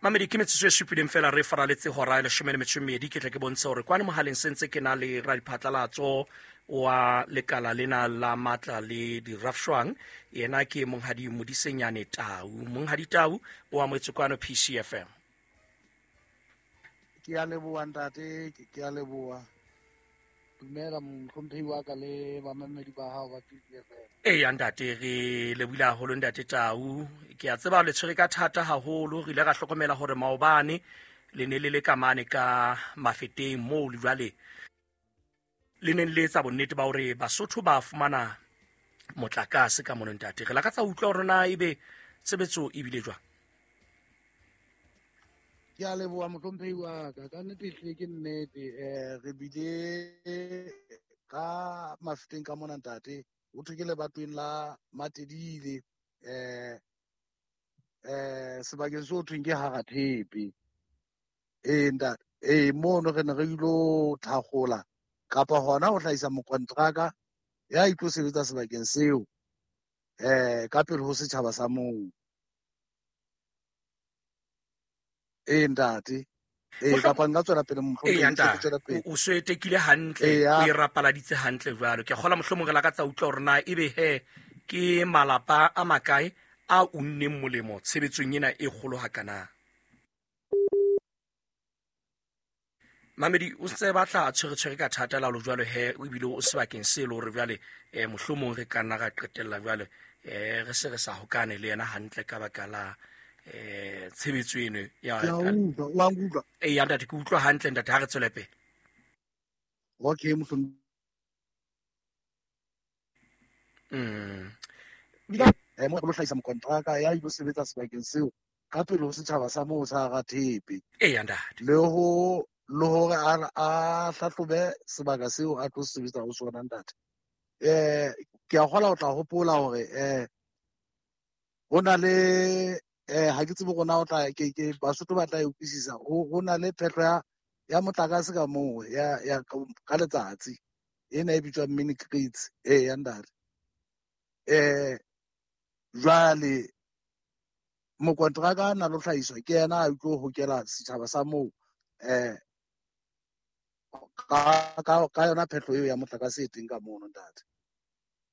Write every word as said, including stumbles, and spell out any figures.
Mamedi, ke metsotso e supileng fela re faraletse hora e leshome le metso e mmedi. Ke tle ke bontshe hore kwane mohaleng sentse ke na le radiphatlalatso wa lekala lena la matla le dirafshwang. Yena ke Monghadi Modisenyane Tau. Monghadi Tau o amohetswe kwano P C F M. Ke a leboha ntate, ke a leboha. Dumela mohlomphehi wa ka le bamamedi ba hao ba P C F M. Eya ntate, re lebohile haholo ntate Tau. Ke a tseba le tshwere ka thata haholo. Re ile ra hlokomela hore maobane le ne le le ka mane ka Mafeteng moo le jwale le neng le etsa bonnete ba hore Basotho ba fumana motlakase ka mono ntate. Re lakatsa ho utlwa hore na ebe tshebetso e bile jwang. Ke a leboha mohlomphehi wa ka. Ka nnete ehlile ke nnete. Eh, re bile ka Mafeteng ka mona ntate. Ho thwe ke lebatoweng la Matedile, eh, eh, sebakeng seo thweng ke Harathepe. Eh, ntate, eh, mono re ne re ilo thakgola kapa hona ho hlahisa mokontraka ya itlo sebetsa sebakeng seo, eh, ka pele ho setjhaba sa moo. Eh, ntate. Eh, Mohlo- kapa nka tswela pele mohlomong, Eya, ke ntate. tswela pele. O, o so etekile hantle, Eya. o e rapaladitse hantle jwalo. Ke a kgolwa mohlomong re lakatsa utlwa hore na ebe he ke malapa a makae a unneng molemo tshebetsong ena e kgolo hakana. Mamedi, o ntse batla a tshwere-tshwere ka thata la lo jwalo he, ebile o sebakeng se le hore jwale, eh, mohlomong re ka nna ra qetella jwale, eh, re se re sa hokane le yena hantle ka baka la, eh, tshebetso eno ya Ke a utlwa, wa nkutlwa? Eya, ntate, ke utlwa hantle ntate, ha re tswele pele. Okay, mohlomong. Mm. Eh, mo re lo hlahisa mokontraka ya ilo sebetsa sebakeng seo ka pele ho setjhaba sa moo sa Rathepe. Eya, ntate. Le ho, le hore a, a hlahlobe sebaka seo a tlo sebetsa ho sona ntate. Eh, ke a kgolwa o tla hopola hore, eh, ho na le, eh, ha ke tsebe hore na o tla, ke, ke, Basotho ba tla e utlwisisa. Ho, ho na le phehlo ya, ya motlakase ka moo, ya, ya ka letsatsi. Ena e bitswang mini grids. Eya, ntate. Eh, jwale mokontraka a na lo hlahiswa ke yena a tlo hokela setjhaba sa moo, eh, ka, ka, ka yona phehlo eo ya motlakase e teng ka mono ntate.